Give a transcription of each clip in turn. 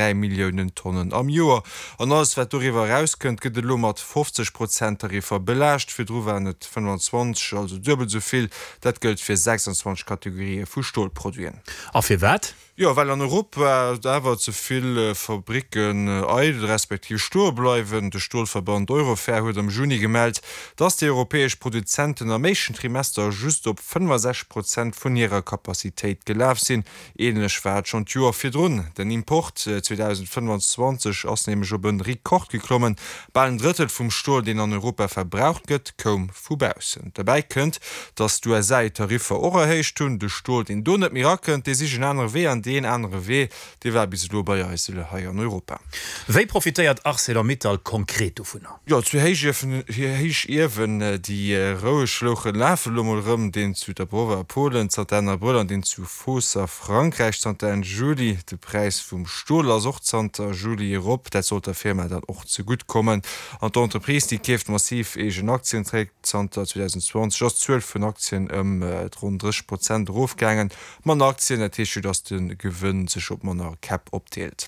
3 Milliounen Tonnen am Joer. An alles wat doriwwer erauskënnt, gëtt elo mat 50 Prozent Tariffer belaascht. Virdru waren et 25, also duebel esou vill. Dat gëllt fir 26 Kategorië vu Stolproduiten. A firwat? Jo, well an Europa awer ze vill Fabricken eidel respektiv stoe bleiwen. De Stolverband Eurofer huet am Juni gemellt, dass déi europäesch Produzenten am éischten Trimester just op 65 Prozent vun hirer Capacitéit gelaf sinn. Ähnlech war et schonn d'Joer virdrun. Den Import 2025 ass nämlech op e Rekord geklommen. Bal en Drëttel vum Stol, deen an Europa verbraucht gëtt, koum vu baussen. Derbäi kënnt, datt d'USA hir Tariffer och erhéicht hunn. De Stol, deen do net méi erakënnt, dee sicht en anere Wee. An deen anere Wee, dee war bis elo bei eis hei an Europa. Wéi profitéiert Arcelor-Mittal konkret dovunner? Jo, zwee Héichiewen, déi roueg louchen, lafen elo mol erëm, deen zu Dabrowa a Polen zanter Enn Abrëll an deen zu Fos a Frankräich zanter Enn Juli. De Präis vum Stol ass och zanter Juli erop, dat sollt der Firma dann och zegutt kommen. An d'Entreprise, déi keeft massiv eegen Aktien zréck. Zanter 2020 ass d'Zuel vun Aktien ëm ronn 30 Prozent erofgaangen. Manner Aktien, dat heescht jo, datt de Gewënn sech op manner Käpp opdeelt.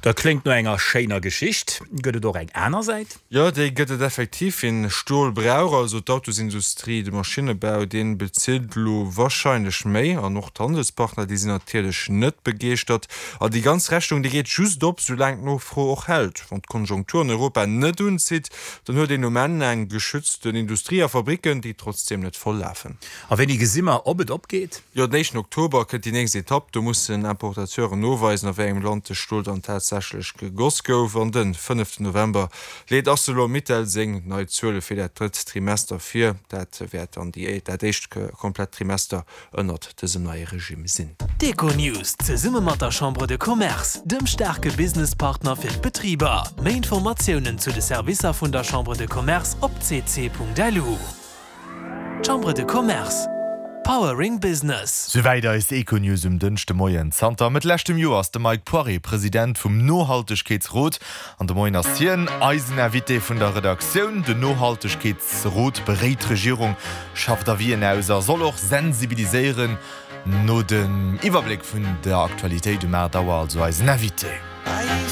Dat kléngt no enger schéiner Geschicht. Gëtt et och eng aner Säit? Jo, déi gëtt et effektiv. Wien Stol brauch, also d'Autosindustrie, de Maschinnebau, dee bezilt elo warscheinlech méi. An och d'Handelspartner, déi sinn natierlech net begeeschtert. A déi ganz Rechnung, déi geet just op, soulaang d'Nofro och hält. Wann d'Konjunktur an Europa net unzitt, dann huet een um Enn eng geschützten Industrie a Fabricken, déi trotzdeem net voll lafen. A wéini gesi mer, ob et opgeet? Jo, den éischten Oktober kënnt déi nächst Etapp. Do mussen Importateuren noweisen, a wéi engem Land de Stol dann tatsächlech gegoss gouf. An den fënneften November leet Arcelor-Mittal seng nei Zuele fir dat drëtt Trimester vir. Dat wäert dann déi dat éischt komplett Trimester ënnert dësem neie Regime sinn. D'Econews zesumme mat der Chambre de Commerce, dem staarke Businesspartner fir d'Betriber. Méi Informatiounen zu de Servicer vun der Chambre de Commerce op cc.lu. Chambre de Commerce, Powering Business. Souwäit eis Econews um Dënschdemoien. Zanter Mëtt leschtem Joer ass de Mike Poiré President vum Nohaltegkeetsrot an de Moien ass hien eisen Invité vun der Redaktioun. Den Nohaltegkeetsrot beréit d'Regierung, schafft Avisen aus a soll och sensibiliséieren. No dem Iwwerbléck vun der Aktualitéit um 8 Auer also eisen Invité.